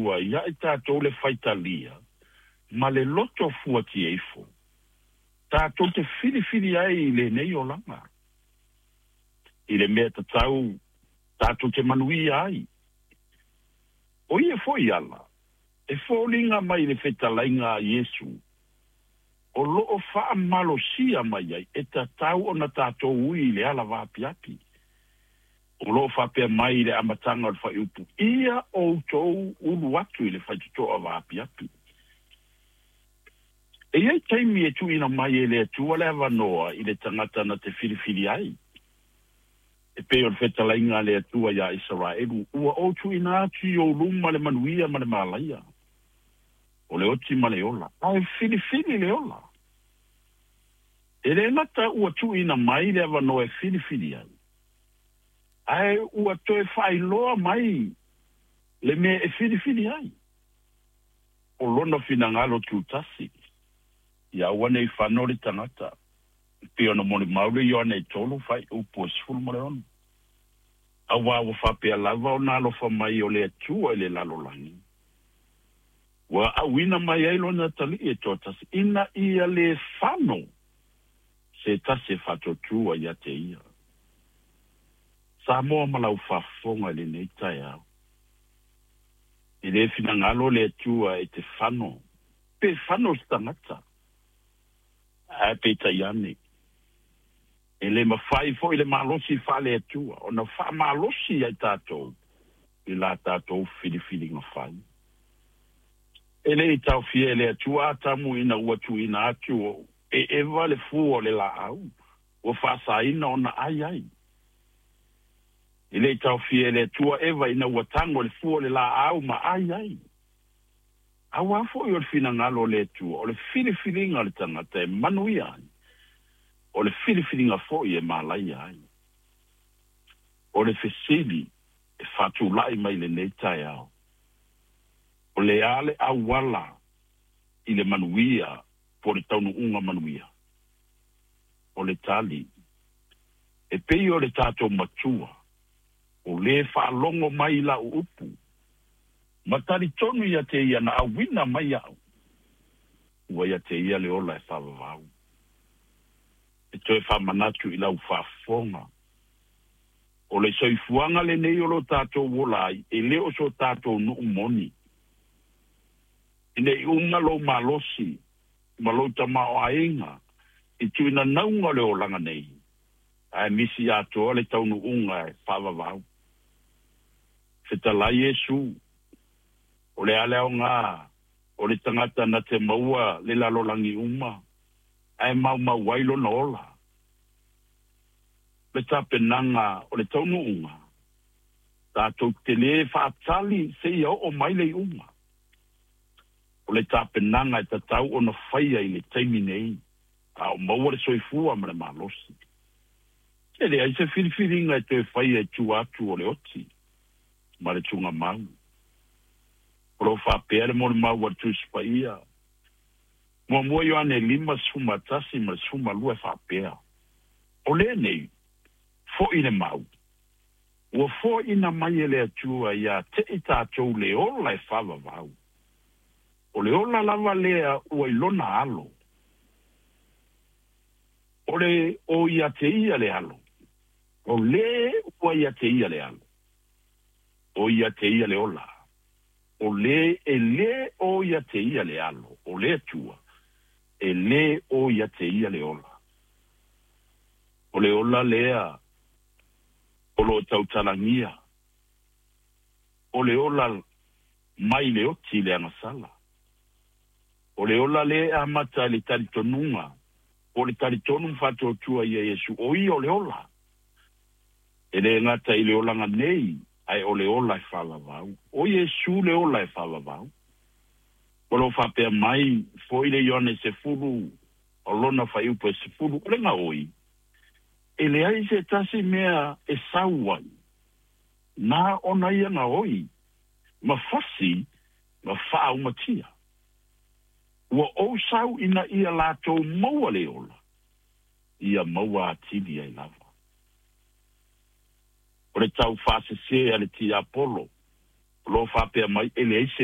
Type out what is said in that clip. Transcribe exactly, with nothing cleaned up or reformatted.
Atua ia i tatou le faitalia ma le loto fuatieifo tatou te filifili ai i lenei olaga i le mea tatau tatou te manuia ai. O ia foi ala e foliga mai le fetalaiga a Iesu o loo faamalosia mai ai e tatau ona tatou ui i le ala vaapiapi. O loo faapea mai i le amataga o le fuaiupu, ia outou ulu atu i le faitotoa vaapiapi. E iai taimi e tuuina mai e le Atua le avanoa i le tagata na te filifili ai. E pei o le fetalaiga a le Atua iā Isaraelu, ua ou tuuina atu i ou luma le manuia ma le malaia, o le oti ma le ola, ae filifili le ola. E le gata ua tuuina mai le avanoa e filifili ai, ae ua toe faailoa mai le mea e filifili ai. O lona finagalo tutasi, ia aua ne i fano le tagata, e pei ona molimau le Ioane tolu fuaiupu e sefulu ma le ono. Auā ua faapea lava ona alofa mai o le Atua i le lalolagi, ua auina mai ai lona Atalii e toatasi, ina ia lē fano se tasi e faatuatua ia te ia. Samoa ma lau faafofoga i lenei taeao, e lē finagalo le Atua e te fano, pe fano se tagata, ae peitai ane, e lē mafai foi le malosi faale-Atua ona faamalosi ai tatou i la tatou filifiliga fai. E le i taofia e le Atua Atamu ina ua tuuina atu e Eva le fua o le laau ua faasaina ona ai ai. E le i taofia e le Atua Eva ina ua tago i le fua o le laau ma ai ai. Auā foi o le finagalo o le Atua, o le filifiliga a le tagata e manuia ai, o le filifiliga foi e malaia ai. O le fesili e faatulai mai lenei taeao, o le a le auala i le manuia po o le taunuuga manuia? O le tali, e pei o le tatou Matua, o lē faalogo mai i lau upu, ma talitonu ia te ia na auina mai au, ua ia te ia le ola e faavavau. E toe faamanatu i lau faafofoga, o le soifuaga lenei o lo tatou ola ai, e le o so tatou nuu moni. Ina i uma lou malosi ma lou tamaoaiga i tuinanauga o le olaga nei, ae misi atoa le taunuuga e faavavau. Fetalai Iesu, o le a le aoga o le tagata na te maua le lalolagi uma, ae maumau ai lona ola. Le tapenaga o le taunuuga, tatou te lē faatali seia oo mai le iuga. O le tapenaga e tatau ona faia i le taimi nei, a o maua le soifua ma le malosi. E leai se filifiliga e toe faia i tua atu o le oti ma le tugamau. O lo o faapea le molimau a le Tusi Paia, Muamua Ioane lima sefulu ma tasi ma le sefulu ma lua e faapea, O lenei foi le mau, ua foaiina mai e le Atua ia te i tatou le ola e faavavau. O le ola lava lea ua i lona Alo. O le o ia te ia le Alo. O lē ua ia te ia le Alo. O ia te ia le ola. O lē e lē o ia te ia le Alo o le Atua, e lē o ia te ia le ola. O le ola lea o lo o tautalagia, o le ola mai le oti i le agasala. O le ola lea e amata i le talitonuga, po o le talitonu ma faatuatua ia Iesu, o ia o le ola. E le gata i le olaga nei, ae o le ola e faavavau. O Iesu le ola e faavavau. O lo o faapea mai foi le Ioane sefulu, o lona fuaiupu e sefulu, o le gaoi, e leai se tasi mea e sau ai, na ona ia gaoi, ma fasi, ma faaumatia. Ua ou sau ina ia latou maua le ola, ia maua atili ai lava. O le taufaasese a le tiapolo, o lo o faapea mai e leai se